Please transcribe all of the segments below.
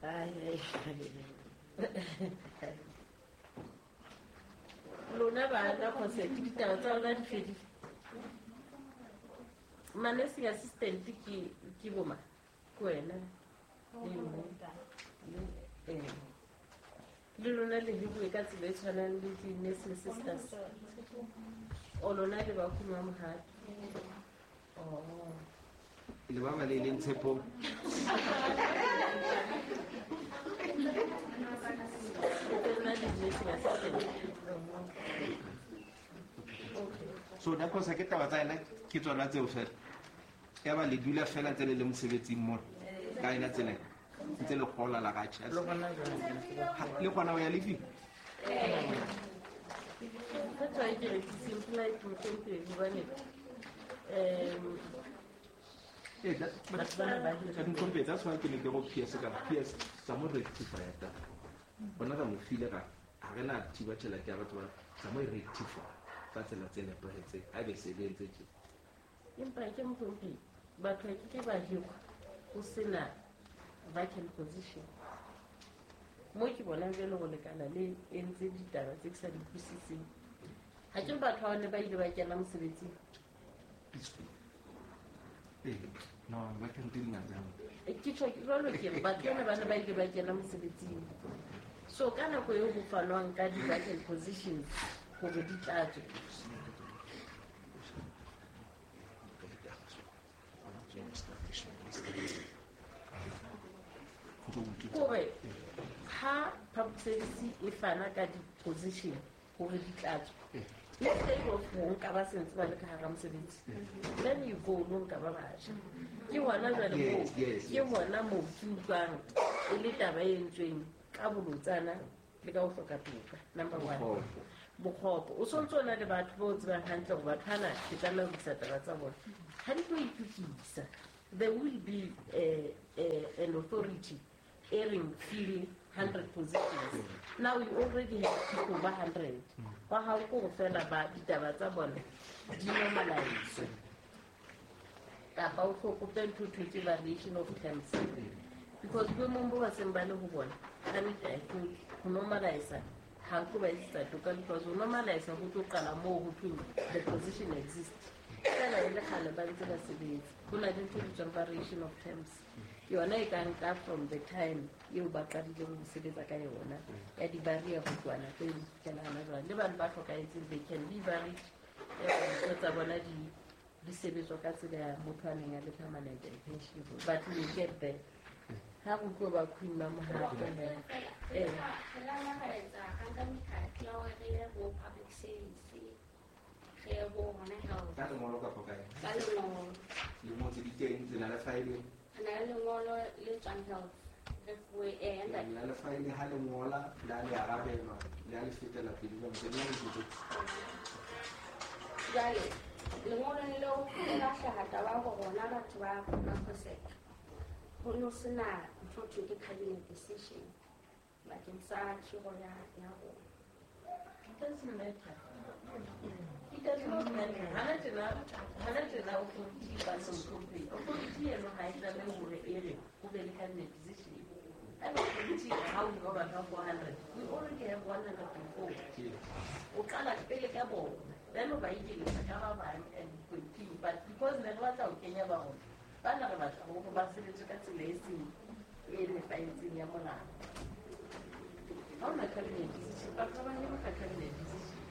Ai, lona bana cosec ditaba tsa lona di fedile. Ma-nursing assistant ke boma ke wena le mme le lona le hiruwe ka tsela e tshwanang le di-nursing sisters o lona le ba kuma mohato. Oh. Le ba ba le leng tshepong. So da kosa ke taba tsa ena ke tsona tseo fela. Ya ba le dula fela ntse le le mosebetsing mona. Ka ena tsela ntse le gola la ga tjha. Le gona o ya leave. That's why ke re ke simple like mohlomphehdi hobane but that's why ke ne ke go PS ka PS sa mo rectify ta. Bona ka mo file ga ha re na thiba tjhelete ya batho ba sa mo rectify ka tsela tse nepahetseng ha be se le ntse tje. Empa ke mohlomphehdi batho ke ke ba hirwa ho sena vacant position. Mo ke bonang jwale go lekana le entse ditaba tse ke sa di utlwisiseng. Ha ke batho ba ne ba ile ba kena mosebetsing. No, vacant di ngata. Ke tjho jwalo ke re batho ba ne ba ile ba kena mosebetsing. So ka nako eo ho fanwang ka di-vacant positions hore di tlatswe. Kore ha public service e fana ka di-position hore di tlatswe. Instead of ho nka ba sentse ba le ka hara mosebetsi, then you go lo nka ba batjha. Ke hona jwale moo, ke hona moo ke utlwang e le taba e entsweng ka bolotsana le ka ho hloka toka. Number one, bokgopo. O sontso o na le batho ba o tsebang hantle hore batho bana ke tlameha ho lokisa taba tsa bona. Ha di tlo itokisa, there will be an authority airing fill 100 positions. Now you already have people ba 100. Ba hao ko fela ba ditaba tsa bona di normalize. Kapa o hlokope ntho thwe ke variation of terms. Because boemong bo ba seng ba le ho bona, ka nnete I think ho normalize ha ko ba etsetsa toka because ho normalize ho tlo qala moo ho thweng the position exists. Fela e le kgale ba ntse ba sebetsa. Ho na le ntho e bitswang variation of terms. Yona e ka nka from the time eo ba qadileng ho sebetsa ka yona ya di-barrier ho tloha nako eo ho fihlela hona jwale. Le bana ba hlokahetseng they can be buried, ntho tsa bona di sebetswa ka tsela ya motho a neng a le permanent and pensionable. But we will get there. Ha re tlo ba Queen Mamohato. Re la ra etsa ra nka mekgatlo ya hore re ye ho public service, re ye ho hona health. Ka lengolo kapa kae? Ka lengolo. Lengolo tse di teng tsena le file. Re na le lengolo le tswang health. Re fuwe Le na le file ha le ngola le a le arabelwa le a le fetela pele jwang tse le ntse. Jwale lengolong leo le la hlaha taba ya hore rona batho ba COSEC ho no sena ntho e thweng ke cabinet decision bakeng sa khiro ya rona. It doesn't matter. It does not matter. Hana tjena authority ba mohlomphehdi. Authority eno ha e tlamehe hore e re ho be le cabinet decision. And authority ha o bua batho ba 400, we already have 104. O qala pele ka bona. Then o ba ikeletsa ka ba bang and continue. But because ne re batla ho kenya ba rona, bana re batla hore ba sebetse ka tsela e seng e nepahetseng ya molao. Ha hona cabinet decision, batho ba bang ba cabinet decision.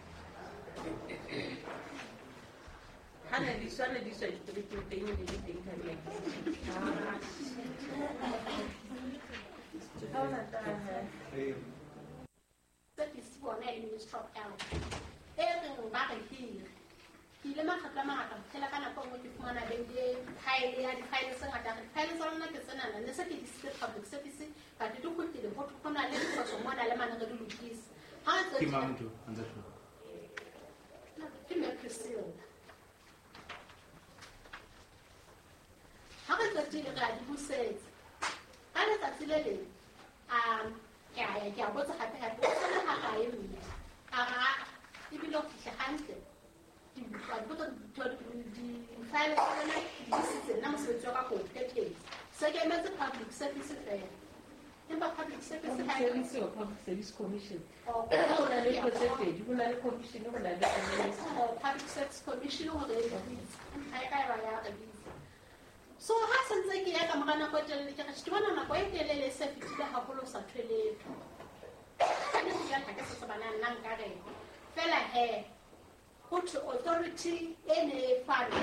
Ha ne di swa ditoropong teng e ne le teng cabinet decision. Ha hona taba. Service bona e le Ministry of Health. E reng ba re hire. Ke ile makgetlo a mangata ho fihlela ka nako e nngwe ke fumana be le file ya di-file tse ngata. Re di-file tsa lona ke tsenana ne se ke di isitse public service but di kgutlile ho thwe ho na le diphoso mona le mane re di lokise. Ha re Ke mang motho a ntse tjho? Ke Mme Priscilla. Ha re qetile re a di busetsa. Ka letsatsi le leng ke a ya ke a botsa hape hape o sale ha kae mme? A re ha ebile o fihle hantle. Di-file tsa lona di isitse nna mosebetsi wa ka ko o phethetse. Se ke emetse public service fela. Empa public service ha e public service commission. Ho na le tse pedi, ho na le commission, ho na le public service commission hore e bitse. Ha e ka ba ya re bitsa. So ha se ntse ke ya ka mora nako e telele ke re ke bona nako e telele se fetile haholo sa thweletho. Ka ne ke ha ke se tsebana nna nka re fela he ho thwe authority e ne e fanwe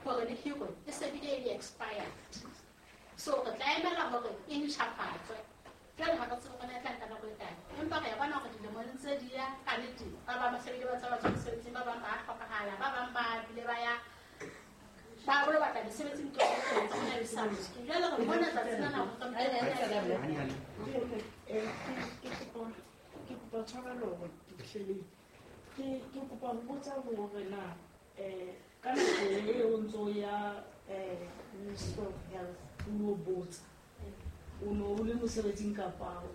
hore le hirwe e se bile e expired. So re tla emela hore e ntjhafatswe. Jwale ha re tsebe hore na e tla nka nako e kae. Empa re a bona hore dilemong tse di ya ka nnete ba bang ba se bile ba tsa ba mosebetsing, ba bang ba hlokahala, ba bang ba bile ba ya ba bolo batla mesebetsing tlo tsa jwale re bona tsatsi lena ho ke kopa tshwarelo hore ke kopa ho botsa hore na ka nako e o ntso ya Ministry of Health o no botsa o no o le mosebetsing kapa o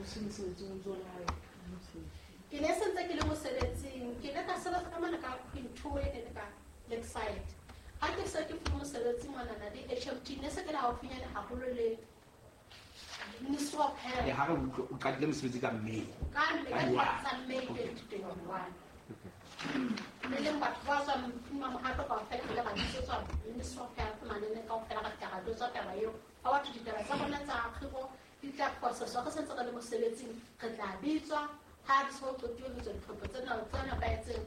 se mosebetsing o ntso le hae? Ke ne se ntse ke le mosebetsing, ke ile ka sebetsa ka mane ka Queen 2 e ne ka Lakeside. Ha ke se ke fuwe mosebetsi monana le HMT ne se ke le haufinyane haholo le Ministry of Health. Ha re utlwe o qadile mosebetsi ka May. Ka May 2021. Le leng batho ba tswang Mohato kaofela re ile ra bitsetswa Ministry of Health manene kaofela ra fihla ra jwetswa taba eo. Ha batho ditaba tsa bona tsa kgiro di tla processwa re sentse re le mosebetsing, re tla bitswa ha di so qetiwe ho tswa ditlhopho tsena tse nepahetseng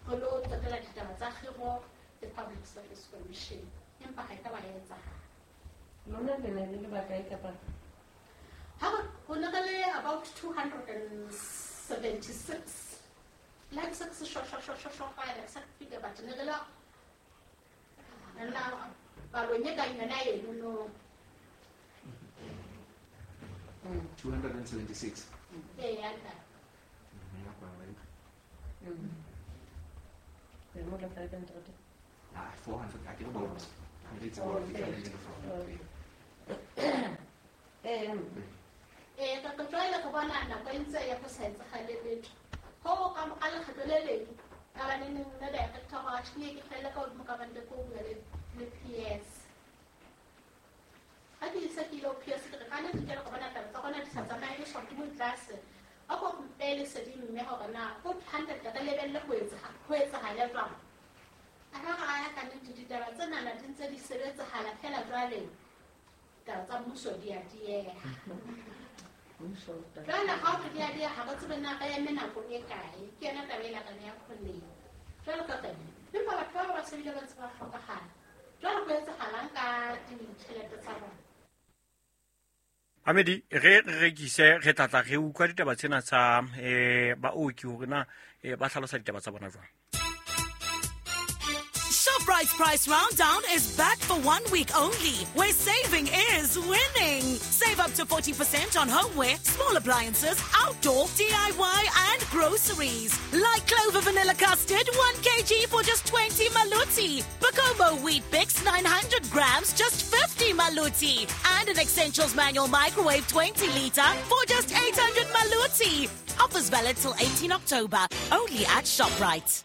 re lo qetela ditaba tsa kgiro le Public Service Commission. Empa ha e ka ba ya etsahala. Lona le ne le le bakae kapa? Ha ho ne re le about 276. Like six short five exact figure, but ne re la palong e kang yona eno no. 276. Ee, ya ntate. Re mo la 500. Ah, 400 ha ke re bona. Re tseba hore ke Ee, ka jwale re bona nako e ntse ya ho sa etsahale letho. Ho ka ka lekgetlo le leng ka ba neng nna director hore atjhe ke felle ka hodimo ka bande ko bua le PS. Ha ke se ke ile PS ke re ka nnete ke re bona taba tsa rona di sa tsamaye le hodimo tlase. A ko mpele sedimo mme hore na ho 100 re lebelle ho etsahala jwang. A ka ra ya ka nnete ditaba tsena di ntse di sebetsahala fela jwale taba tsa mmuso di a dieha. Jwale ha re di a dieha ha re tsebe na re eme nako e kae. Ke yona taba ena re ya kgoneng. Jwale ka re empa batho ba ba sebile ba ntse ba hlokahala. Jwale ho etsahalang ka ditjhelete tsa bona? Amedi re rekise re tlatla re utlwa ditaba tsena tsa baoki hore na ba hlalosa ditaba tsa bona jwang. Shoprite's Price Rounddown is back for 1 week only, where saving is winning. Save up to 40% on homeware, small appliances, outdoor, DIY and groceries. Like Clover Vanilla Custard, 1 kg for just 20 maluti. Bokomo Wheat Bix, 900 grams, just 50 maluti. And an Essentials Manual Microwave 20 litre for just 800 maluti. Offers valid till 18 October, only at Shoprite.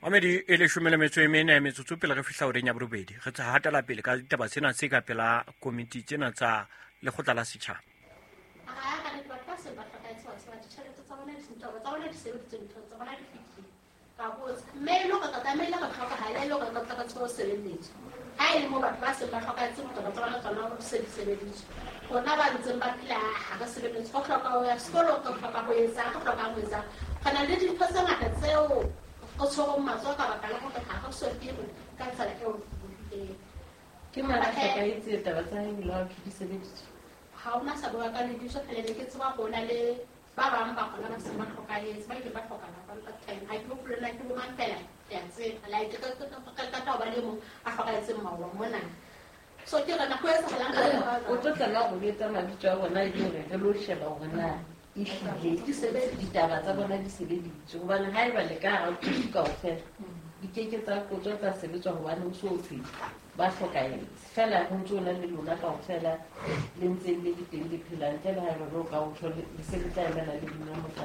Amedi e leshome le metso e mene metsotso pele re fihla horeng ya borobedi. Re tla hatela pele ka ditaba tsena tse ka pela komiti tsena tsa lekgotla la setjhaba. Ha ka nnete batho ba se ba hlokahetse ba tseba ditjhelete tsa bona ditaba tsa bona di sebeditse dintho tsa bona di fihlile. Ka botsa mme e le hore re tlamehile re hlokahale e le hore re tla re tsebe ho sebeletswa. Ha e le moo batho ba seng ba hlokahetse ditaba tsa bona tsona di se di sebeditswe. Rona ba ntseng ba phela ha re sebeletse, re hloka ho ya sekolong, re hloka ho etsang, re hlokang ho etsang. Re na le dintho tse ngata tseo re tshwereng matsoho ka baka la hore ha re so hirwe ka tsela eo re Ke mang a hlokahetse taba tsa hae ebile ha di sebeditswe? Ha hona sa bua ka lebitso fela ne ke tseba hore ho na le ba bang ba rona ba seng ba hlokahetse, ba ile ba hlokahala ka time. Ha ke hopole na ke bo mang fela ke a tseba. Like re qeta ho ba le mong a hlokahetseng maoba mona. So ke re nako e etsahalang ka O tlo tlameha ho betsa mabitso a bona e le hore re lo sheba hore na ehlile ditaba tsa bona di sebeditswe. Hobane haeba le ka hara kaofela di keke tsa kotswa tsa sebetswa hobane ho so thwe ba hlokahetse. Fela ho ntso na le lona kaofela le ntse le le teng le phela ntle le haeba re ka o thole le se le tla emela le dinomoro tsa.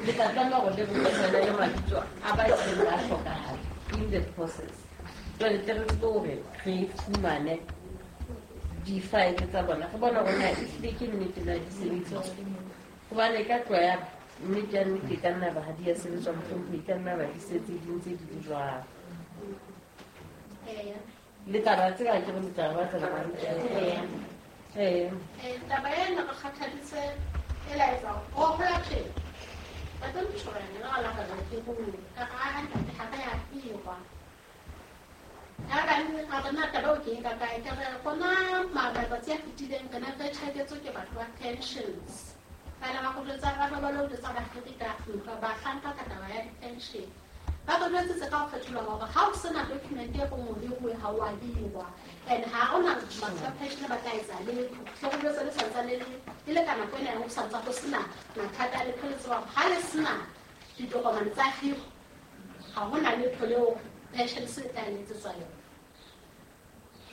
Le tla tlameha hore le buisane le mabitso a ba ileng ba hlokahala in the process. Jwale tle re tsebe hore re fumane di-file tsa bona re bona hore na ehlile ke nnete na di sebeditswe. Hobane e ka tloha ya nnete ya nnete e ka nna ba ha di a sebetswa mohlomphehi, e ka nna ba di setse di ntse di le jwalo. Le tla ba tseba ke re le tla ba tseba hantle. Taba ena re kgathaditse e laetsa ho hola tjena. Ba tlo ntjhorena le la ka ke go ka ga ntate ha ka ya hirwa. Ya ka nne ga bona taba o ke ka kae ke re gona matsatsi a fetileng re ne re tjhaketswe ke batho ba pensions. Fela ba go jwetsa ba ba lo jwetsa ba hiri ka ntlo ba hlanka ka taba ya di-pension. Ba go jwetsitse ka ho kgetholwa hore ha o sena document e reng o hiruwe ha o a hirwa. And ha ona batho ba pension ba tla etsa letho. So go jwetsa le santsane le le ka nako ena ho santsa go sena mathata a letho le tseba hore ha le sena ditokomane tsa hiro ha hona letho leo pension se tla le etsetswa yona.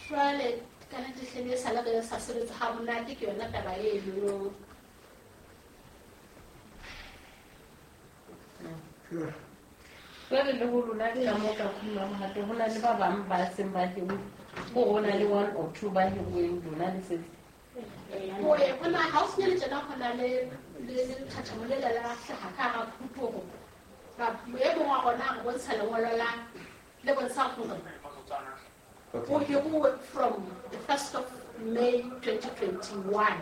Jwale ka nnete hlile e sale re sa sebetse ha monate ke yona taba eno. Jwale le ho lona ka moo ka phumang mohato ho na le ba bang ba seng ba hiruwe, ho ho na le 1 or 2 ba hiruweng lona le setse. Ho e hona ha o senya le tjena ho na le le lethathamo le la hlaha ka hara phupu hore ba e mong wa rona a re bontsha lengolo la le bontshang hore o hiruwe from the 1st of May 2021.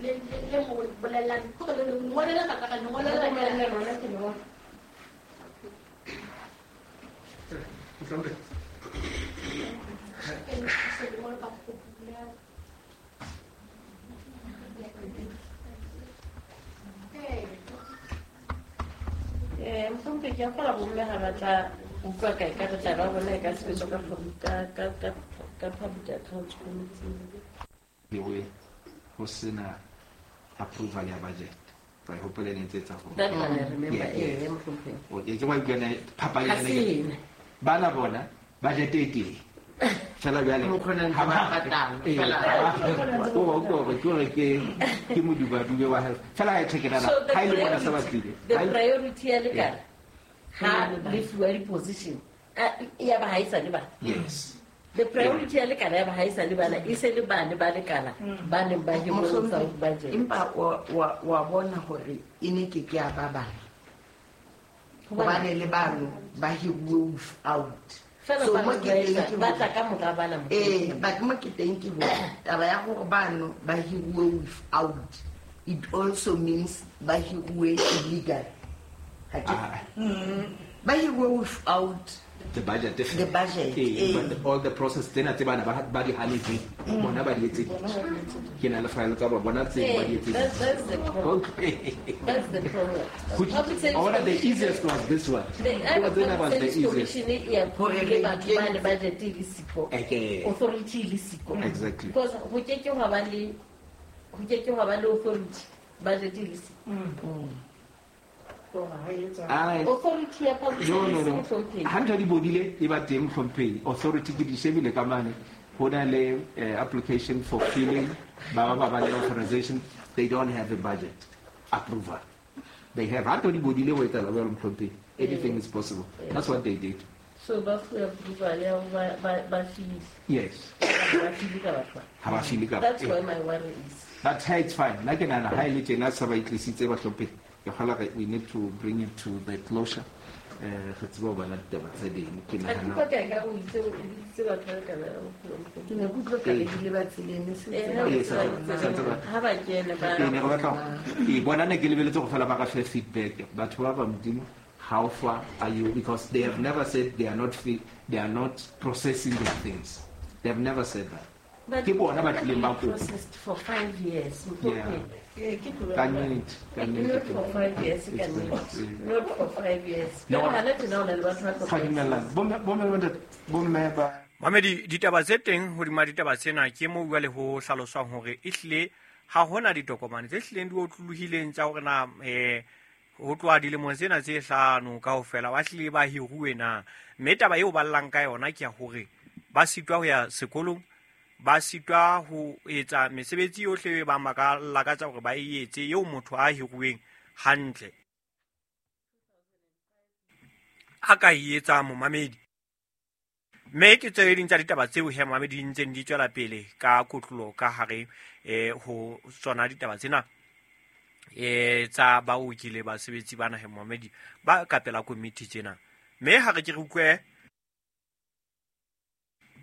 Le le mo bolellang hore le lengolo le ka ka lengolo le le lona ke lona. Mohlompheki ke a kgolwa bomme ha ba tla utlwa kae ka re taba ya bona e ka sebetswa ka public accounts committee. Lewe ho sena approval ya budget. Ba hopole ne ntse tsa ho. That one I remember mohlompheki. Okay, ke wa utlwa phapang Ha sena. Bana bona budget e teng. Fela bjale ha ba patala fela. O go ke modubadube wa health. Fela ha e checkela ha ile bona sa batlile. The priority ya lekala ha le fuwa di-position ya ba ha e sa le bana. Yes. The priority ya lekala ya ba ha e sa le bana e se le bane ba lekala ba neng ba hiruwe tsa budget. Empa wa bona hore e ne ke ke ya ba bana. Hobane le bano ba hiruwe out. So mo ke teng ke ba tla ka mora bana mo. Ba mo ke teng ke hore taba ya hore bano ba hiruwe without it also means ba hiruwe illegal. Ha ke ba hiruwe without the budget. The budget. But all the process tsena tse bana ba di hanetse bona ba di etse. Ke na le file tsa bona tse ba di etse. That's the problem. That's the problem. All the easiest was this one. The was the easiest. Hore le batho ba le budget e le siko. Authority e le siko. Exactly. Because ho ke ke hwa ba le authority budget e le siko. Authority ya public no. Ha ntho di bodile e ba teng mohlompheki. Authority ke di shebile ka mane ho na le application for filling ba ba le authorization, they don't have a budget approval. They have ha ntho di bodile ho etsa la mohlompheki. Anything is possible. That's what they did. So ba fuwa approval ya ba file. Yes. Ba file ka batho. Ha ba file ka. That's where my worry is. But hey, it's fine. Like nna ha ile tjena sa ba itlisitse ba hlomphe. We need to bring it to the closure. Re tsebe ho bala ditaba tse ding. Ke nahana. Ke ka o itse o itse batho ba ka Ke ne ke utlwa ka le dile ba tseleng e se ha ba kene ba. Ke ne re batla ke bona ne ke lebeletse go fela ba ka fe feedback. Batho ba ba Modimo, how far are you? Because they have never said they are not free, they are not processing their things. They have never said that. But ke bona ba tlileng ba kopa. Processed for 5 years. Yeah. Not for 5 years. Not for 5 years. No. Mamedi ditaba tse teng hodima ditaba tsena ke mo bua le ho hlaloswang hore ehlile ha hona ditokomane tse hlileng di otlolohileng tsa hore na ho tloha dilemong tsena tse hlano kaofela ba hlile ba hiruwe na. Mme taba eo ba llang ka yona ke ya hore ba sitwa ho ya sekolong, ba sitwa ho etsa mesebetsi yohle ba ba lakatsa hore ba e etse eo motho a hiruweng hantle a ka e etsa momamedi. Mme ke tse ding tsa ditaba tseo he momamedi di ntseng di tswela pele ka kotlolo ka hare ho tsona ditaba tsena tsa baoki le basebetsi bana he momamedi ba ka pela komiti tsena. Mme ha re ke re utlwe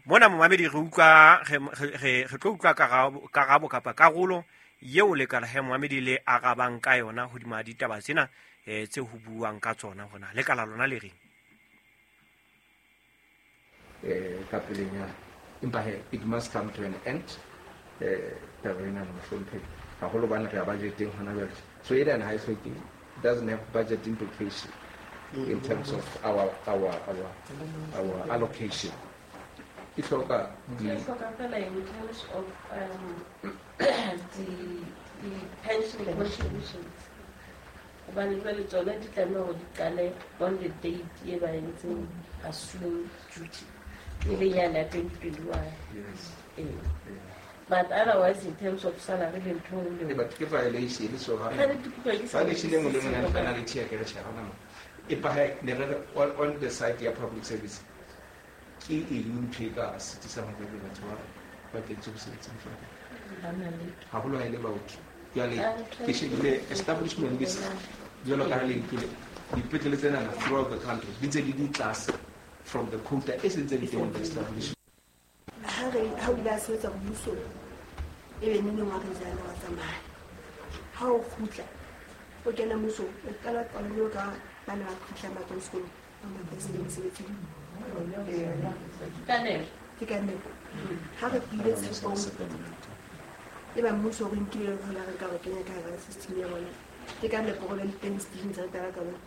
mona momamedi re utlwa re tlo utlwa karabo kapa karolo yeo lekala he momamedi le arabang ka yona hodima ditaba tsena tse ho buang ka tsona hona lekala lona le reng. Ka pelenyana empa he it must come to an end. Taba ena mohlomphehi haholo bana re ya budgeteng hona jwale, so ena ha e hloke, doesn't have budget implication in terms of our allocation. E hloka fela in terms of the pension contributions hobane jwale tsona di tlameha hore di qale on the date e ba entseng assume duty e le yana 2021. Yes. But otherwise in terms of salary le ntho le but ke violation so ha violation e nngwe le nngwe penalty ya ke re tjhe hona mo empa he ne re on the side ya public service ke eng ntho e ka sitisang hore batho ba kentswe mosebetsing fa haholo ha e le baoki. Jwale ke shebile establishment list jwalo ka ha le nkile dipetlele tsena throughout the country di ntse di di tlase from the quota e sentse di teng establishment. Ha o ile a sebetsa mmusong e be neng wa resign wa tsamaya, ha o kgutla o kena mmusong o qala qalo ka bana ba kgutlang ba tswang sekolong ba ba mosebetsing. Ke ka nepo ha re pile tshepong e ba mmuso o re nkile le hona re ka re kenya ka hara system ya bona. Ke ka nepo gore le teng system tsa taba ka bona.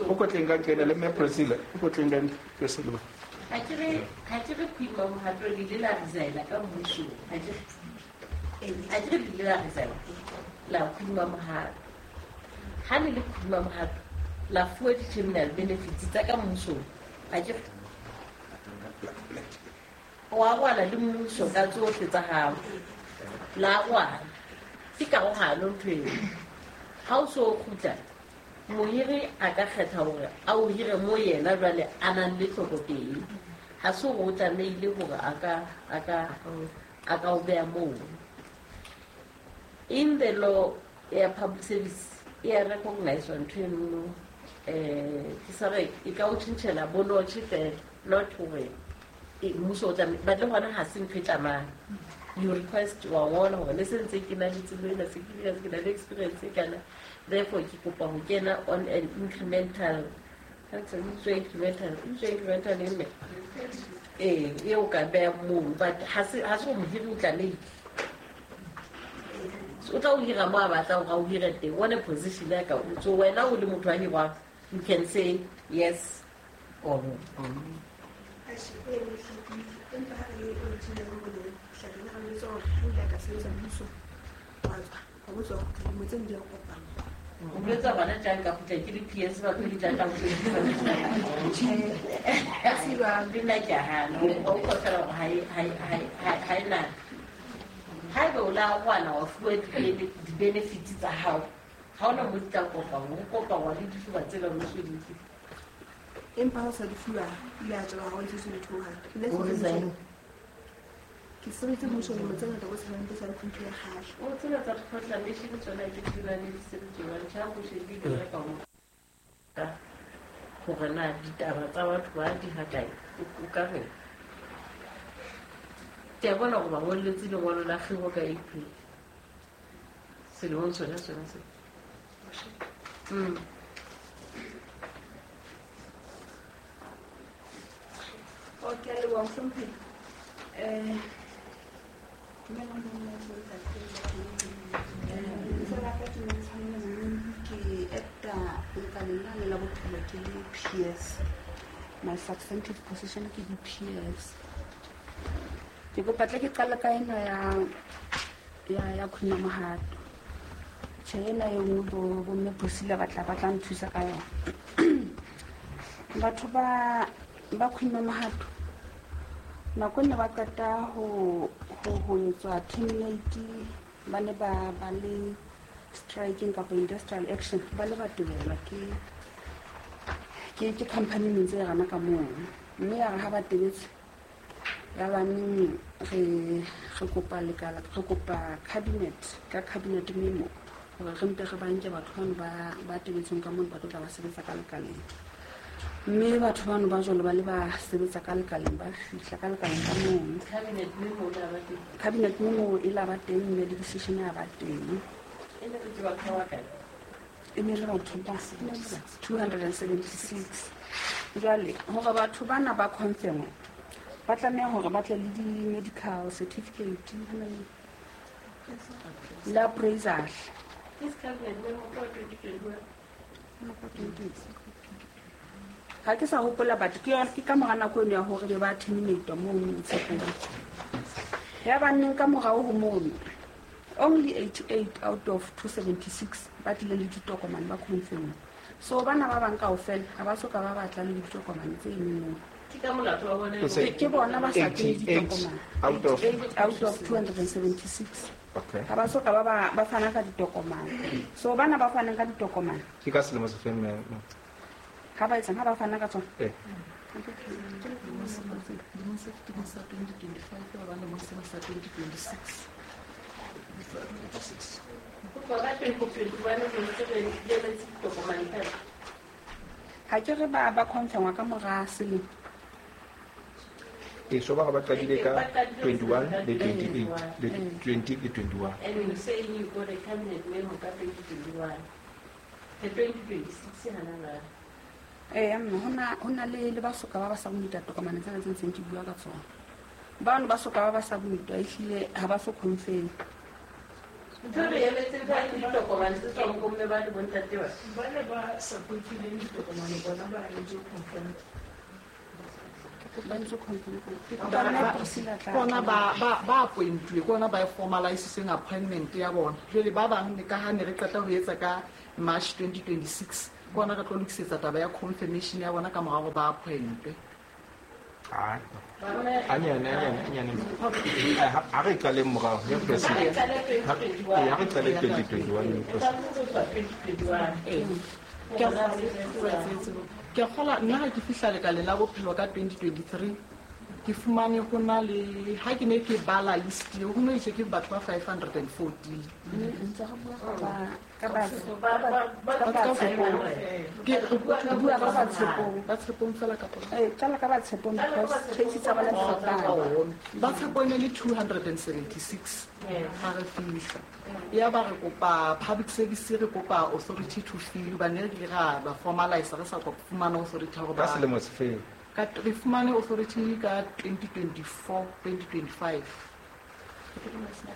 O ko tleng ka kena le mme Priscilla, o ko tleng ka Priscilla. Ha ke re Queen Mohato le ile la resign ka mmusong. Ha ke re le ile la resign la Queen Mohato. Ha le le Queen Mohato la fuwa di-terminal benefits tsa ka mmusong. Ha ke wa rwala le mmuso ka tsohle tsa hao. La rwala. Ke karohano ntho eo. Ha o so kgutla mohiri a ka kgetha hore a o hire mo yena jwale a nang le tlhoko teng. Ha se hore o tlamehile hore a ka o beha moo. In the law ya public service e a recognize ntho eno, ke sa re e ka o tjhentjhela bonotjhe fela, not hore mmuso o tlameha, but le hona ha se ntho e tlamang. You request wa ngola hore le sentse ke na le tsebo ena, se ke na le experience e kana, therefore ke kopa ho kena on an incremental incremental mme e o ka beha moo, but ha se hore mohiri o tlamehile. O tla o hira mo a batlang hore a o hire teng, one position ya ka so wena o le motho wa hirwang, you can say yes or no. O boletse bana tjang ka kgutla ke le PS ba tlo di tla ka le nna ke a hana. O utlwa fela hore ha e na. Haeba o la rwala wa fuwa di-benefits tsa hao, ha hona mo di tla kopangwa, ho kopangwa le difuba tsela o so di nkile. Empa ha o sa di fuwa, ile a tswela ha o ntse le thoha. Ke sebeditse mmusong dilemo tse ngata ko tshabang ke sa le ntho ya kgale. O tsena tsa proclamation tsona ke di na le disebetso jwang, tjha ho shebile re ka ho hore na ditaba tsa batho ba di ha kae, o ka reng. Ke a bona hore ba ngolletse lengolo la kgiro ka April selemong sona sona se. Okay, a leboha mohlomphehi. Lebitso la ka ke Mantshwanelo Monngi, ke acta lekaleng lane la bophelo ke le PS. My substantive position ke di-PS. Ke kopa tle ke qale ka ena ya Queen Mohato. Tjhe ena e nngwe bo mme Priscilla ba tla nthusa ka yona. Batho ba Queen Mohato nako ne ba qeta ho etswa terminate, ba ne ba le striking kapa industrial action, ba le ba tebelwa ke Ke company ne ntse e rana ka mono. Mme ya re ha ba tebetse ya baneng re kopa lekala, re kopa cabinet ka cabinet memo hore re mpe re banke batho bano ba tebetseng ka mono ba tlo tla ba sebetsa ka lekaleng. Mme batho bano ba jwalo ba le ba sebetsa ka lekaleng, ba fihla ka lekaleng ka mono. Cabinet memo e la ba teng mme le decision ya ba teng. E ne le batho ba 276. Jwale hore batho bana ba confirm ba tlameha hore ba tle le di-medical certificate le appraisal. Ha ke sa hopola batho ke yona ke ka mora nako eno ya hore be ba terminate mono Tshepong. Ya banneng ka morao ho mono only 88 out of 276 ba tlile le ditokomane ba confirm. So bana ba bang kaofela ha ba soka ba batla le ditokomane tse eno. Ke bona ba sa tleng ditokomane out of 276. Okay. Ha ba soka ba fana ka ditokomane. So bana ba fanang ka ditokomane. Ke ka selemo se feng mme? Ha ba etsang ha ba fana ka tsona. Eh. Lemong se fetileng sa 2025 ba lemong sena sa 2026. Ha ke re ba confirm ka mora selemo. So ba qadile ka 21 le 28 le 20 le 21. And you saying you got a cabinet memo ka 2021. The 2026 hana ba. Mme hona le ba soka ba sa bonita tokomane tsena tse ntseng ke bua ka tsona. Bano ba soka ba sa bonita ehlile ha ba so confirm. Ntho re emetseng ka ditokomane tse tswang ko mme ba le bontate ba. Ba ne ba supportileng ditokomane bona ba ntse confirm. Bona ba appointuwe ke bona ba e formalisitseng appointment ya bona. Jwale ba bang ka ha ne re qeta ho etsa ka March 2026 ke bona re tlo lokisetsa taba ya confirmation ya bona ka mora hore ba appointwe. Anyane. Ha re qale morao ya president. Ha re qale 2021 Ke kgola nna ha ke fihla lekaleng la bophelo ka 2023 ke fumane ho na le ha ke ne ke bala list eo ho no itse ke batho ba 514. Ka ba Tshepong. Ba Tshepong fela kapa? Qala ka ba Tshepong because case tsa bona di fapane. Ba Tshepong e le 276 ha re fihla. Ya ba re kopa public service re kopa authority to fill ba ne re ra ba formalize re sa kopa fumana authority hore ba selemo se feng. Ka re fumane authority ka 2024 2025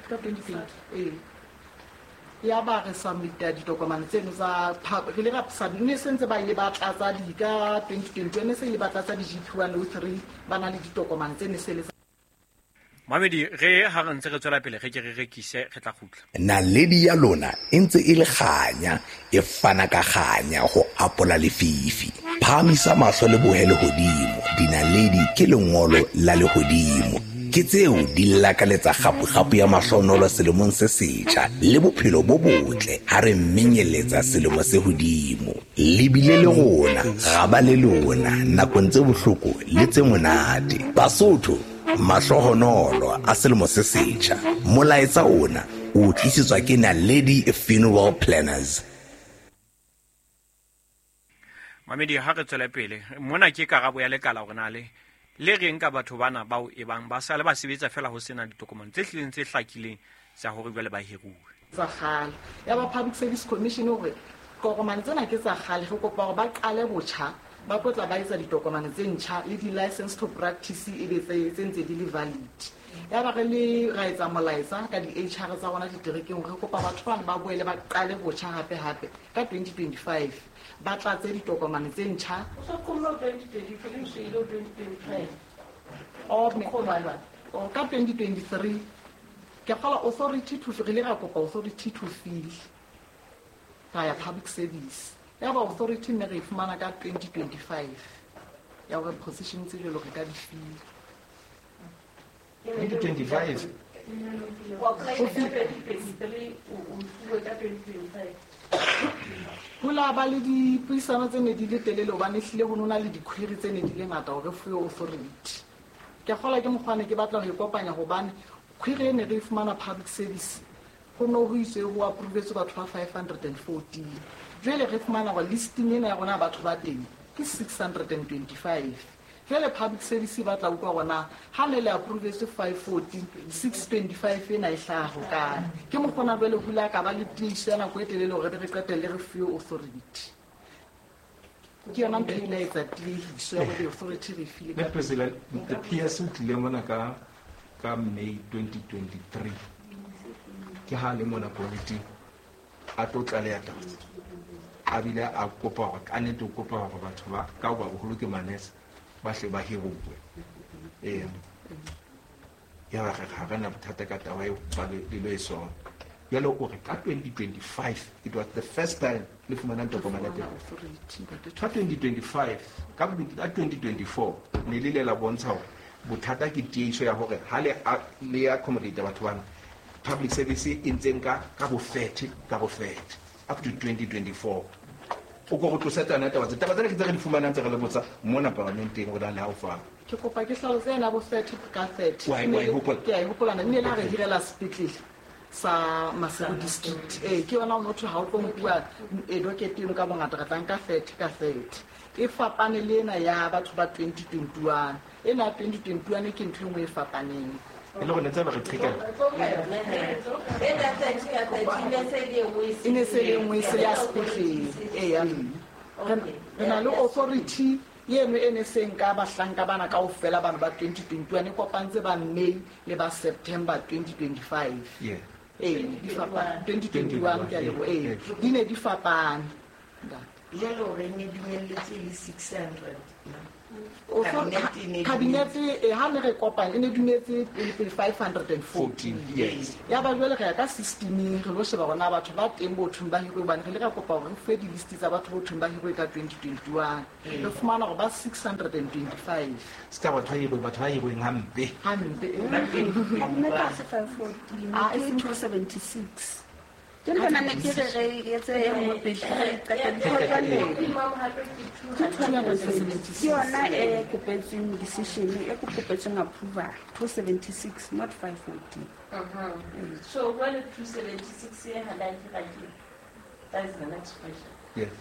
ka 2020 ya ba re submit ditokomane tseno tsa re le ra submit se ntse ba ile ba tlatsa di ka 2020 ne se ile ba tlatsa di GP103 ba na le ditokomane tse ne se le. Mamedi re ha re ntse re tswela pele re ke re rekise re tla kgutla. Naledi ya lona e ntse e le kganya e fana ka kganya ho apola lefifi. Phahamisa mahlo le bohe lehodimo. Dinaledi ke lengolo la lehodimo. Ke tseo di lakaletsa kgapu-kgapu ya mahlonolo selemong se setjha le bophelo bo botle ha re menyeletsa selemo se hodimo. Le bile le rona, ra ba le lona nakong tse bohloko le tse monate. Basotho mahlohonolo a selemo se setjha. Molaetsa ona o tlisetswa ke Naledi Funeral Planners. Mamedi ha re tswele pele mona ke karabo ya lekala hore na le reng ka batho bana bao e bang ba sale ba sebetsa fela ho sena ditokomane tse hlileng tse hlakileng tsa hore jwale ba hiruwe. Tsa kgale ya ba Public Service Commission hore tokomane tsena ke tsa kgale re kopa hore ba qale botjha ba tlotla ba etsa ditokomane tse ntjha le di-license to practice e be tse ntse di le valid. Ya ba re le ra etsa molaetsa ka di-HR tsa rona diterekeng re kopa batho bana ba boele ba qale botjha hape hape ka 2025 ba tlatse ditokomane tse ntjha. O so qomlo 2024 o se ile 2025. O ka 2023 ke kgola authority to re le ra kopa authority to fill ra ya public service. Ya ba authority ne re e fumana ka 2025 ya hore position tse jwalo re ka di fill. 2025 O apply ka 2023, o fuwe ka 2025. Ho la ba le dipuisano tse ne di le telele hobane ehlile ho nona le di-query tse ne di le ngata hore re fuwe authority. Ke kgolwa ke mokgwa ne ke batla ho e kopanya hobane query e ne re e fumana public service ho no ho iswe ho approvetswe batho ba 514. Jwale re fumana hore listing ena ya rona batho ba teng ke 625. Jwale public service e batla utlwa hore na ha ne le approvetswe 514, 625 ena e hlaha hokae. Ke mokgona jwale ho ile ka ba le tiiso ya nako e telele hore re qetelle re fuwe authority. Ke yona ntho e ile ya etsa tiehiso ya hore authority re file ka President, the PS o tlile mona ka May 2023. Ke ha le mona committee a tlo tlaleha taba. A bile a kopa hore ka nnete o kopa hore batho ba ka hoba boholo ke manese ba hle ba hiruwe. Ya ba re ha re na bothata ka taba eo ba le lo e sona. Jwale o re ka 2025 it was the first time le fumanang tokomane ya teng. Ka 2025 ka 2024 ne le ile la bontsha hore bothata ke tiehiso ya hore ha le accommodate batho bana public service e ntseng ka bo 30 up to 2024. O ko go tlosa tsana taba tse ke tse re di fumanang tse re le botsa mona parlamenteng o na le ha o fa. Ke kopa ke hlalose ena bo 30 ka 30. Wa e hopola? Ke a e hopola na ne la re hirela sepetlele sa Maseru district. Ke yona o motho ha o tlo nkuwa docket eno ka bongata re tla nka 30 ka 30. E fapane le ena ya batho ba 2021. Ena ya 2021 ke ntho e nngwe e fapaneng. E le hore ne tse ba re qhekella. E ne se le nngwe se ya sepetlele. Eya. Re na le authority eno e ne seng ka bahlanka bana kaofela bana ba 2021 e kopantse ba May le ba September 2025. Yeah. Di fapane 2021 ke a leboha. Di ne di fapane. Jwale hore ne dumelletswe le 600. Cabinet ha ne re kopane e ne dumetse pele 514. Yes. Ya ba jwale re ya ka systeming re lo sheba hore na batho ba teng bo thong ba hirwe hobane re le ra kopa hore re fuwe di-list tsa batho bo thong ba hirwe ka 2021. Re fumana hore ba 625. Se ka batho ba hirweng hampe. Hampe. Nna ka se 514, ke 276. Ke le bona ne ke re re etse e nngwe pele re qeta ke yona e kopetsweng decision e kopetsweng approval 276 not 514. So jwale 276 e ha la hira ke. That is the next question. Yes.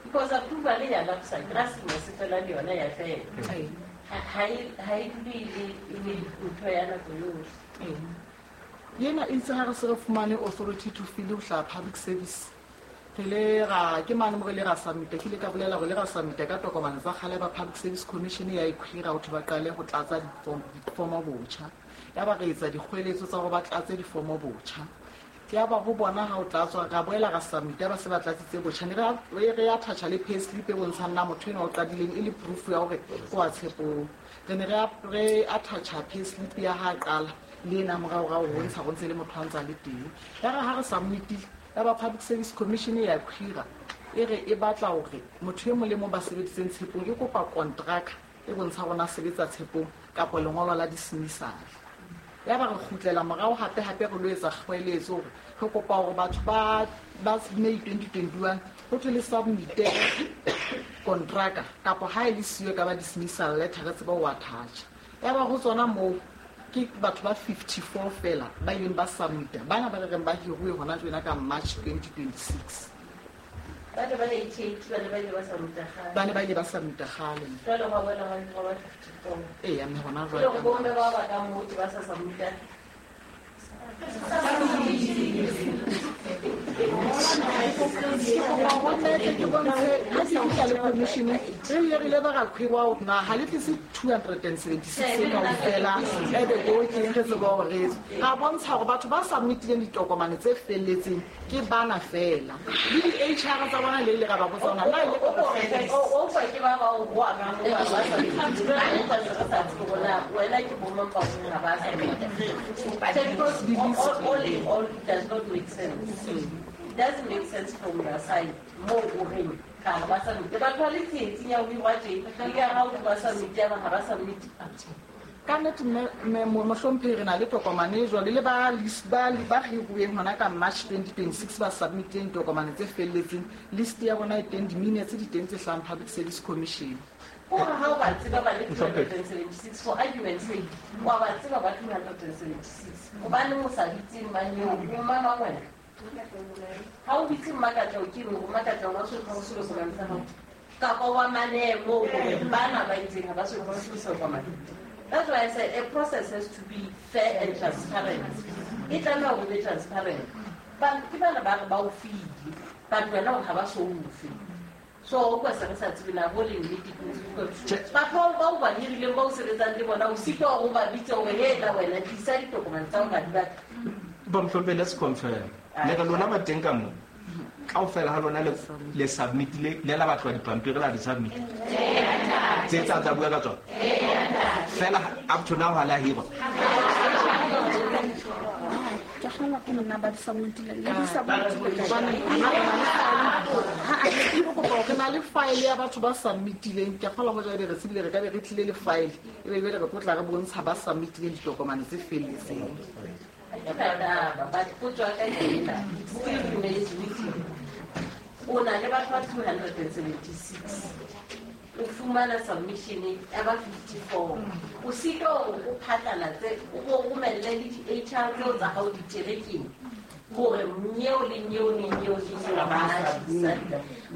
Because approval ya lapsa grass mo se fela le yona ya fela. Ha e dule e le ntho ya nako yohle. Yena e itse ha re se re fumane authority to fill ho hlaha public service. Re le ra ke mane mo re le ra submit ke le ka bolela hore le ra submit ka tokomane tsa kgale ba Public Service Commission ya e clear ho ba qale ho tlatsa difomo botjha. Ya ba re etsa dikgweletso tsa hore ba tlatse difomo botjha. Ya ba ho bona ha o tlatswa ra boela ra submit ba se ba tlatsitse botjha. Ne re ya thatha le pay slip e bontshang na motho ena o qadileng e le proof ya hore o a tshepong. Re ne re attach pay slip ya ha qala le ena morao ra o bontsha go ntse le motho a ntse a le teng. Ya re ha re submitile ya ba Public Service Commission ya clear e re e batla hore motho e mong le mong ba sebeditseng tshepong e kopa contract e bontsha rona sebetsa tshepong kapa lengolo la dismissal. Ya ba re kgutlela morao hape hape re lo etsa kgweletso hore re kopa hore batho ba May 2021 ho thwe le submit contract kapa ha e le siyo ka ba dismissal letter re tseba ho attach. Ya ba ho tsona moo ke batho ba 54 fela ba ileng ba submit bana ba re reng ba hiruwe hona jwena ka March 2026. Ba ne ba le 88 ba ne ba ile ba submit kgale. Ba ne ba ile ba submit kgale. Jwale ba boela ba ba 54. Eya mme hona jwale. Jwale bo mme ba ba ka moo ba sa submit. Re ile ba ra khwiwa hore na ha le tlise 276 kaofela ebe o ke re tseba hore ra bontsha hore batho ba submitileng ditokomane tse felletseng ke bana fela le di-HR tsa bona le ile ra ba botsa hore na ile o fa ke ba ba o boa ka mo ba sa wena ke bo mang ba ga ba sa all does not make sense. It doesn't make sense from your side. More o ga ba sa mete batho ba le tsietsing ya ho hirwa tje e ka ha o ba sa mete ba ga ba sa mete. Ka nnete mohlomphehi re na le tokomane e jwalo le ba hiruweng hona ka March 2026 ba submitileng ditokomane tse felletseng. List ya bona e teng, di-minutes di teng tse hlahang Public Service Commission. Hore ha o ba tseba ba le 276, for argument's sake, wa ba tseba ba 276, hobaneng o sa bitse mang eo? O mang wena? Ha o bitse Mmakatleho ke eng? Mmakatleho wa selo sa hao kapa wa mane moo hore bana ba itseng ha ba so tokomane. That's why I said a process has to be fair and transparent. E tlameha hore be transparent. Ba ke bana ba re ba o file, but wena o ha ba so o fe. So o kwa se re sa tsebe na bo le nnete ke batho ba o ba hirileng ba o sebetsang le bona, o sitwa hore o ba bitse hore hela wena tlisa ditokomane tsa hore di batla. Ba mohlomphehi, let's confirm. Le re lona ba teng ka moo kaofela ha lona le submitile, le la batlwa dipampiri la di submit. Tse tsa bua ka tsona. Fela up to now ha la hirwa. Ke kgolwa ke nna ba di submitile, le di submitile. Ha ke kopa re na le file ya batho ba submitileng. Ke kgolwa ho jwale re tsebile re ka be re tlile le file e be re tlo tla re bontsha ba submitileng ditokomane tse felletseng. But potso ya ka ke ena, it still remains with you. O na le batho ba 276, o fumana submission ya ba 54, o sitwa hore o phatlalatse, o bo romelle le di-HR tseo tsa hao diterekeng hore nyeo le nyeo le nyeo le nyeo ba tlisa.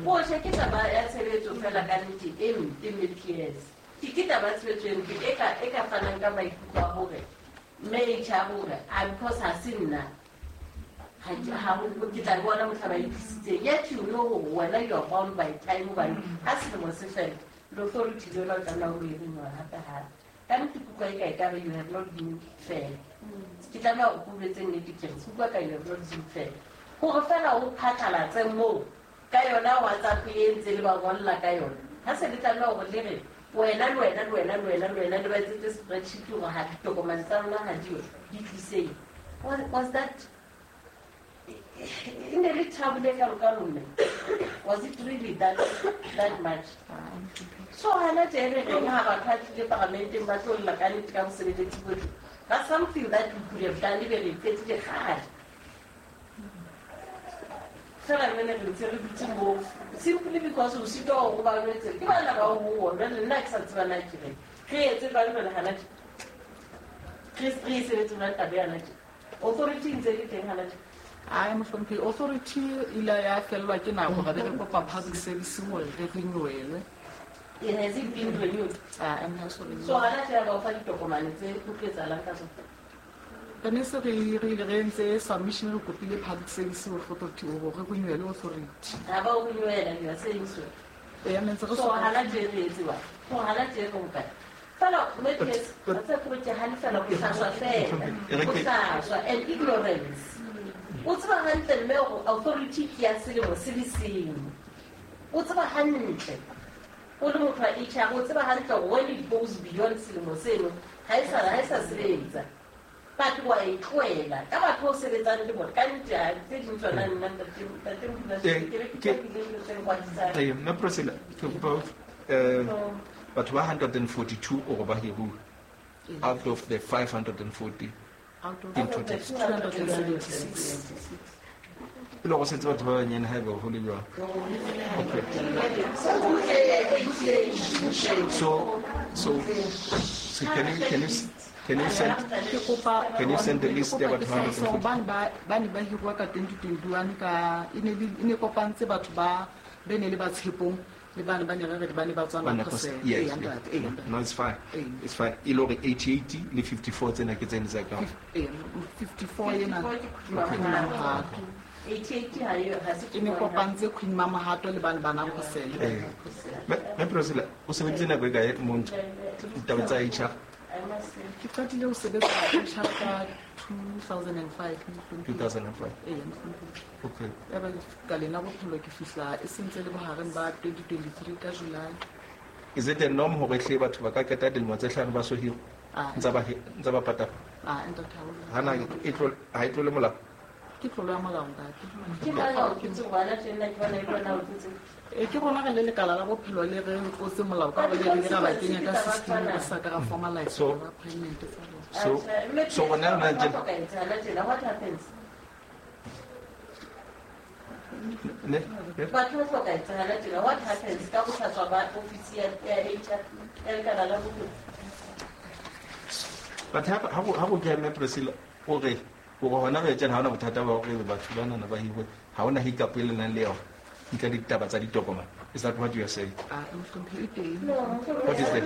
Bohle ke taba ya tshebetso fela ka nnete e mpe, mme PS ke taba ya tshebetso e mpe e ka fanang ka maikutlo a hore mme HR hore a because ha se nna ha ke tla bona mohla ba e tlisitseng. Yet you know hore wena you are bound by time, hobane ha selemo se fela le authority le yona o tlameha o e renewa hape hape. Ka nnete ke utlwa eka ekare you have not been fair. Ke tlameha hore ke o jwetse nnete ke re ke utlwa ka you have not been fair. Hore fela o phatlalatse moo ka yona WhatsApp e ntse le ba ngolla ka yona. Ha se le tlameha hore le re wena le wena le wena le wena le wena le ba etsetse spreadsheet hore ha ditokomane tsa lona ha diyo di tliseng. Was that e ne le trouble e kalokalo mme? Was it really that much? So hana tje re reng ha batho ba tlile paramenteng ba tlo lla ka nnete ka bosebeletsi bohle. That's something that we could have done ebe re e fedile kgale. Fela re ne re ntse re dutse moo simply because o sitwa hore o ba jwetse ke bana ba o ho jwale nna ke sa tseba na ke reng. Re etse jwang jwale hana tje? Re e sebetse jwang taba ya hana tje? Authority ntse e le teng hana tje? Ai mohlomphehi, authority ile ya fellwa ke nako ra be re kopa public service hore re renewelwe. It has it been renewed? So hana tje ba o fa ditokomane tse ho tlo etsahalang ka tsona? Re ne se re ile re entse submission re kopile public service authority hore re renewele authority. Ha ba o renewela, you are saying so. Ee, mme ntse re So hana tje re etsewa. So hana tje re hokae? Fela mme PS, ba tsa ke ke halefela ho hlaswa fela. Ho hlaswa and ignorance. O tseba hantle mme hore authority ke ya selemo se le seng. O tseba hantle. O le motho wa HR, o tseba hantle hore when it goes beyond selemo seno, ha e sa sebetsa. But wa e tlohela ka batho o sebetsang le bona ka nnete ha tse ding tsona nna ntate Modulasetulo, ke be ke qapile dilo tse nkwatisang. Ee, mme Priscilla, ke kopa batho ba 142 ore ba hiruwe out of the 540 Out of in total. 276. E le go setse batho ba banyane ha eba ho le jwang. Okay. So can you send can you send the list ya batho ba 140? Ba ne ba hirwa ka 2021 ka e ne kopantse batho ba ne le ba tshepong le bana ba ne re re ba ne ba tswa Nagosela. Yes, no, it's fine. It's fine. E le hore 88 le 54 tsena ke tsene tsa ka. 54 ena. 88 ha e ha se E ne kopantse Queen Mamahato le bana ba Nagosela. Mme Priscilla, o sebeditse nako e kae mo ditaba tsa HR? Ke qadile ho sebetsa HR ka 2005. 2005. Ee. Okay. Ya ba ka lena bophelo ke fihla e sentse le bohareng ba 2023 ka July. Is it a norm hore hle batho ba ka qeta dilemo tse hlano ba so hirwe? Ah. Ntse ba patala? Ah, ntate ha o. Hana e tlo ha e tlole molao? Ke Ke tlolo ya molao ntate. Ke mang a o tlotse gobana tjena ke bona e le wena o tlotse? Ke rona re le lekala la bophelo le re tlotse molao ka gore le re ra ba kenya ka system re sa ka ra formalize appointment tsa bona. So gona rona tjena what happens? Batho ba hloka etsahala tjena what happens ka bohlaswa ba ofisi ya HR ya lekala la bophelo? But ha go keme Priscilla o re hona re tjena ha ona bothata ba hore batho ba nana ba hiwe ha ona hiccup e le nang le yona ntle le ditaba tsa ditokomane. Is that what you are saying? What is that?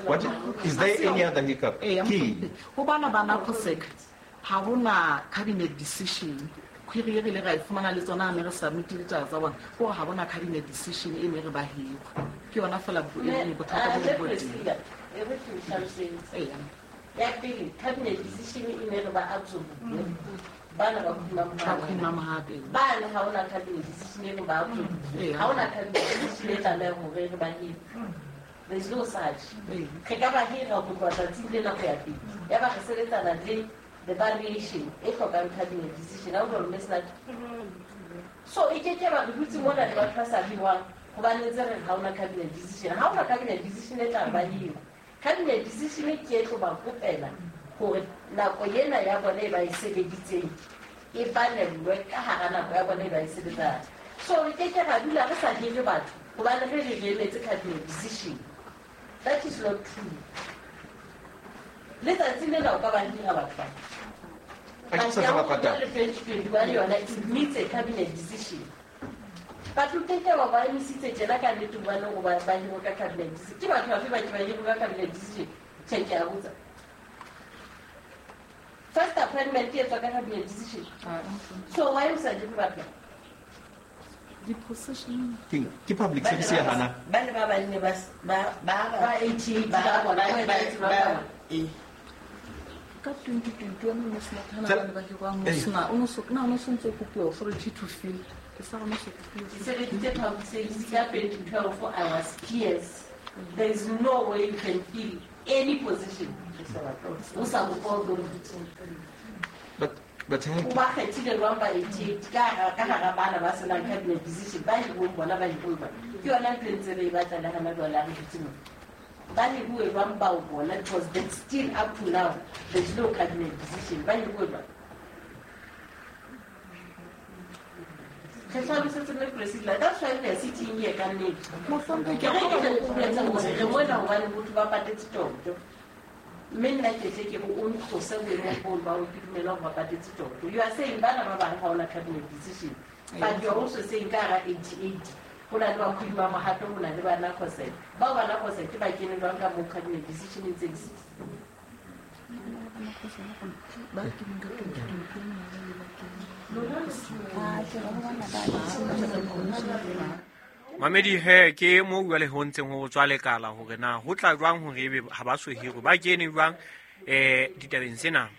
What is there any other hiccup? Key. Ho bana ba NACOSEC ha hona cabinet decision. Query re le ra e fumana le tsona mme re submit ditaba tsa bona gore ha bona cabinet decision e ne re ba hirwe. Ke yona fela bothata bo bo teng. Ya pele cabinet decision e ne re ba absorb bana ba khuma mohape bana ha ona cabinet decision e re ba absorb ha ona cabinet decision e tlameha hore re ba hirwe. There is no such. Re ka ba hira go tloha tsatsing lena go ya pele ya ba re sebetsana le the variation e hlokang cabinet decision. Ha o jwalo mme so e ke ke ba re dutse mona le batho ba sa hirwang hobane ntse re ha ona cabinet decision. Ha ona cabinet decision e tla ba hirwa. Cabinet decision ke e tlo ba kopela hore nako ena ya bona e ba e sebeditseng e balellwe ka hara nako ya bona e ba e sebetsang. So re ke ke ra dula re sa hire batho hobane re re emetse cabinet decision. That is not true. Letsatsi lena o ka ba hira batho ba. Le 2021 yona it needs a cabinet decision. Batho ke ke ba ba emisitse tjena ka nnete hobane o ba hirwe ka cabinet decision. Ke batho bafe ba ke ba hirwe ka cabinet decision? Tjhe, ke a botsa. First appointment e etswa ka cabinet decision. So why o sa hire batho? Di-position ke public service ya hana. Ba ne ba banne ba ba 88 ba bona ba ka 2021 mo sena thana ba hirwang mo sena o no so na no sentse kopiwa authority to fill ke sa rona so kopiwa. Ke sebeditse public service ka 2012 I was PS. There is no way you can fill any position o sa kopa authority. But o ba kgethile jwang ba 88 ka hara bana ba senang cabinet decision ba hirweng bona ba hirwe ba ke yona ntho e ntse re e batla le hana jwale ha re dutse mona. Ba hiruwe jwang bao bona because they still up to now there's no cabinet decision. Ba hiruwe jwang? Re hlalosetse mme Priscilla, that's why we are sitting here ka nnete. Mohlompheki, Ke re ke boletse hore re mona hobane botho ba patetse tjotjo. Mme nna ke tle ke re o ntlose boemong boo ba o ke dumela hore ba patetse tjotjo. You are saying bana ba bang ha ona cabinet decision. But you are also saying ka hara 88 ho na le bakhodi ba mohato, ho na le ba NACOSEC. Bao ba NACOSEC ke ba kene jwang ka moo cabinet decision e ntse e sitse? Ba keneng ka 2021 le ba keneng. Mamedi he ke mo jwale ho ntseng ho tswa lekala hore na ho tla jwang hore ebe ha ba so hirwe ba kene jwang ditabeng tsena.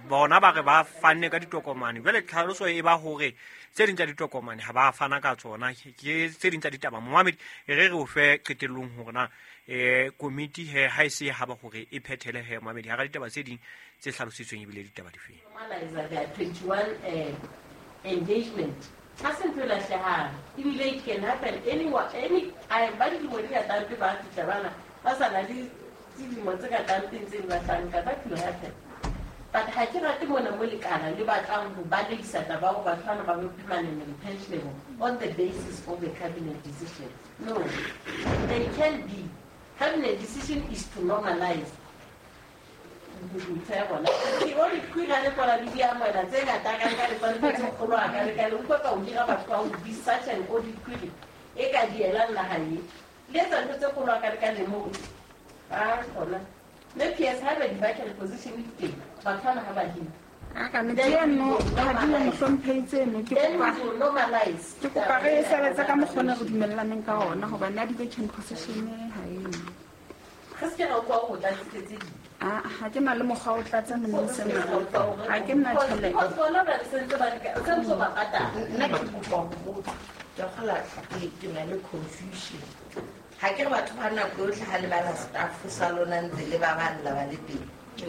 Bona ba re ba fanne ka ditokomane jwale tlhaloso e ba hore tse ding tsa ditokomane ha ba fana ka tsona ke tse ding tsa ditaba. Momamedi re re o fe qetellong hore na komiti he ha e se ha ba hore e phethele he momamedi ha ra ditaba tse ding tse hlalositsweng ebile ditaba difeng. Normalize their 21 engagement. Ha se ntho e lahlehang ebile it can happen anywhere, any time. Ba dilemo di ka tlampe ba fihla bana ba sa na le dilemo tse ka tlampeng tse di batlang ka that will happen. But ha ke rate mona mo lekala le batlang ho balehisa taba hore batho bana ba be permanent and pensionable on the basis of a cabinet decision. No, they can be. Cabinet decision is to normalize. Ntho ya bona ke audit query le kona le di amohela tse ngata ka ka le tsone tse kgolo a ka le ka le utlwa ka o dira batho ba ho be such an audit query e ka dielang naha e le etsa ntho tse kgolo a ka le ka le mo ba kgona le PS ha ba di-vacant position di teng batho bana ha ba hire. Ka nnete eno ha di le mohlomphehi tseno ke kopa normalize. Ke kopa re sebetse ka mokgwa o re dumellaneng ka ona hobane ya di-vacant position ha e. Re se ke ra utlwa ho tlatsitse tse ding. Ha ke na le mokgwa o tlatsa mone sena. Ha ke nna tjhelete. Because bona ba re sentse ba le sentse ba patala. Nna ke kopa ho botsa Ke kgola ke na le confusion. Ha ke re batho ba nako yotlhe ha le bala staff sa lona ntse le ba balla ba le teng. E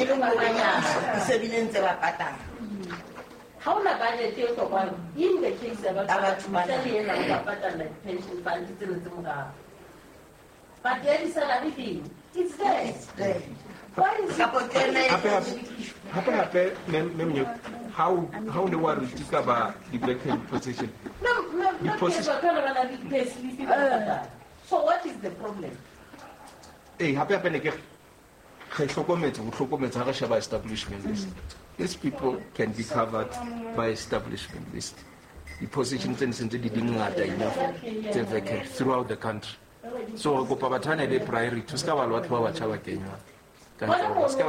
le ngwana se bile ntse ba patala. Ha ona budget e hlokwang in the case ya batho ba le yena o ba patala pension fund tse ntse morao. But there is salary thing. It's there. Why is hape mem how ne wa re tika ba di vacant position? No, the position. So what is the problem? Eh, hape ne ke re hlokometse ho hlokometse ha re sheba establishment list. These people can be covered by establishment list. The positions tse ntse di dingata enough tse vacant throughout the country. So kopa batho ba ne be priority, se ka ba le batho ba batjha ba kenywa. Ska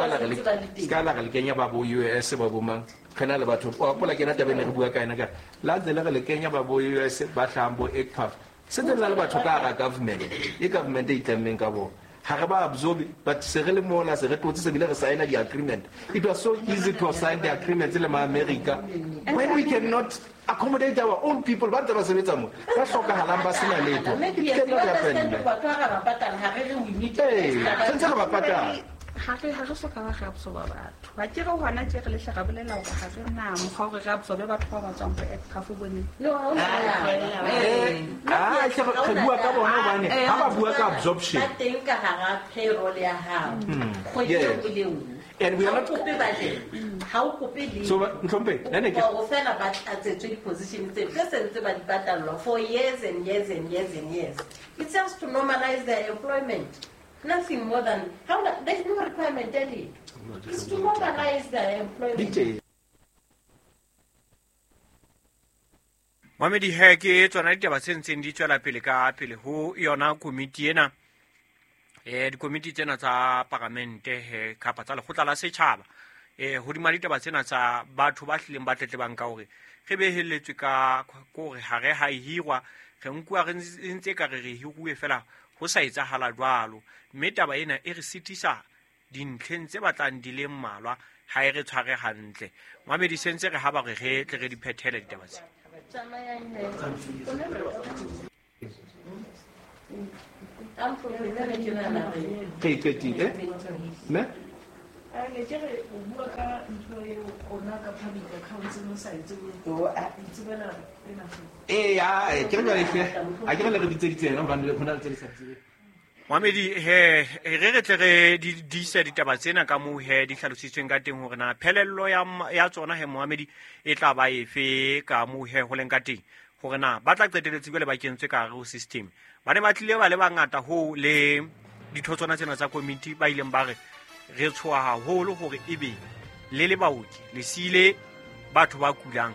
la re kenya ba bo US ba bo mang re na le batho o apola kena taba ne re bua ka ena ka la ntse le re le kenya ba bo US ba hlahang bo ECPAF se tse le batho ka ga government e government e itlammeng ka bo ha re ba absorb but se re le mona se re tlotse se bile re sign the agreement. It was so easy to sign the agreement le ma America when we cannot accommodate our own people ba ntse ba sebetsa mo ba hlokahalang ba sena letho. It cannot happen. Sentse re ba patala. Ha re soka ba re absorba batho. Ba ke re hona tje re lehle ra bolela hore ha re na mokgwa hore re absorbe batho ba ba tswang ho ECPAF bone. No, ha re bua ka bona hobane ha ba bua ka absorption. Ba teng ka hara payroll ya hao. Kgwedi e nngwe le nngwe. And we are not kope budget. Ha o kope le. So ntlompe, nne ke o fela ba tlatsetswe di-position tse sentse ba di patallwa for years and years and years and years. It's just to normalize their employment. Nothing more than how there's no requirement daily. It's to normalize their employment. Mamedi he ke tsona ditaba tse ntseng di tswela pele ka pele ho yona komiti ena. Dikomiti tsena tsa paramente he kapa tsa lekgotla la setjhaba. Hodima ditaba tsena tsa batho ba hlileng ba tletlebang ka hore re behelletswe ka hore ha re ha hirwa re nkuwa re ntse ka re hiruwe fela ho sa etsahala jwalo, mme taba ena e re sitisa dintlheng tse batlang di le mmalwa ha e re tshware hantle. Mamedi sentse re ha ba re re tle re di phethele ditaba tse. Ke qetile ne? Ne ke re o bua ka ntho eo ona ka public accounts no sa itse o itsebela ena. Eh, ke re jwale hle a ke re le re bitseditse yena hobane ho na le tse le sa tsebeng. Mamedi he re tle re di disa ditaba tsena ka moo he di hlalositsweng ka teng hore na phelello ya tsona he Mohamedi e tla ba efe ka moo he ho leng ka teng hore na ba tla qeteletse jwale ba kentswe ka hare ho system. Ba ne ba tlile ba le bangata ho le ditho tsona tsena tsa committee ba ileng ba re re tshoha haholo hore ebe le le baoki le sile batho ba kulang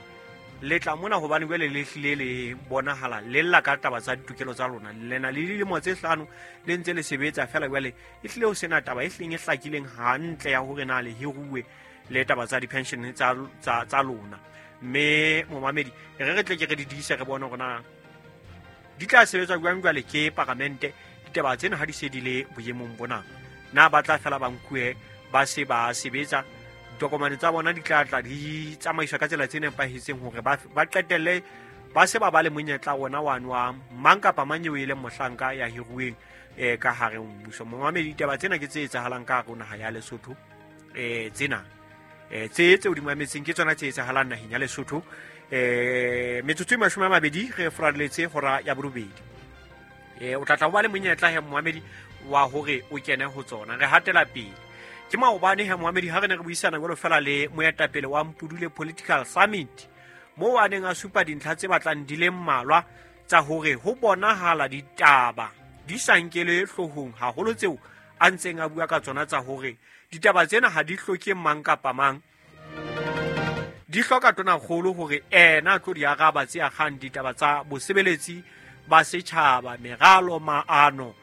le tla mona hobane jwale le hlile le bonahala le lla ka taba tsa ditokelo tsa lona le na le dilemo tse 5 le ntse le sebetsa fela jwale e hlile ho sena taba e hlileng e hlakileng hantle ya hore na le hiruwe le taba tsa di-pension tsa lona. Mme momamedi re tle ke re di diise re bone hore na di tla sebetswa jwang jwale ke paramente ditaba tsena ha di se di le boemong bona. Na ba tla fela ba nkuwe ba se ba sebetsa ditokomane tsa bona di tla tla di tsamaiswa ka tsela tse nepahetseng hore ba qetelle ba se ba ba le monyetla wona wano wa mang kapa mang eo e leng mohlanka ya hiruweng ka hare ho mmuso. Momamedi ditaba tsena ke tse etsahalang ka hare ho naha ya Lesotho. Tsena tse tseo di mametseng ke tsona tse etsahalang naheng ya Lesotho. Metsotso e 20 re foraletse hora ya borobedi. O tla tla ba le monyetla he momamedi wa hore o kene ho tsona. Re hatela pele. Ke maobane he momamedi ha re ne re buisana jwalo fela le moetapele wa Mpudule Political Summit moo a neng a supa dintlha tse batlang di le mmalwa tsa hore ho bonahala ditaba di sa nkele hloohong haholo tseo a ntseng a bua ka tsona tsa hore ditaba tsena ha di hloke mang kapa mang, di hloka tonakgolo hore ena a tlo di araba tse akgang ditaba tsa bosebeletsi ba setjhaba, meralo, maano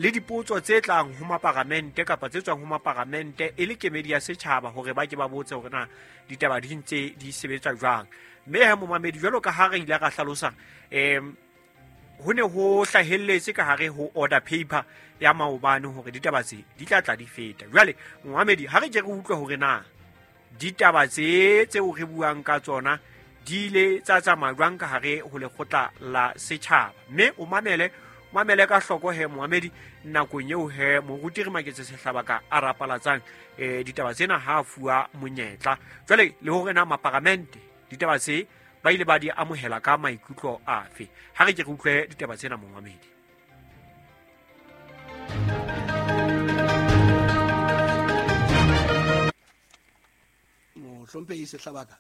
le dipotso tse tlang ho maparamente kapa tse tswang ho maparamente e le kemedi ya setjhaba hore ba ke ba botse hore na ditaba di ntse di sebetsa jwang. Mme he momamedi jwalo ka ha re ile ra hlalosa ho ne ho hlahelletse ka hare ho order paper ya maobane hore ditaba tse di tla tla di feta. Jwale momamedi ha re ke re utlwe hore na ditaba tse tseo re buang ka tsona di di ile tsa tsamaya jwang ka hare ho lekgotla la setjhaba. Mme o mamele mamele ka hloko he moamedi nakong eo he moruti re Maketse Sehlabaka a rapalatsang ditaba tsena ha a fuwa monyetla. Jwale le hore na maparamente ditaba tse ba ile ba di amohela ka maikutlo afe. Ha re ke re utlwe ditaba tsena momamedi. Mohlomphehi Sehlabaka,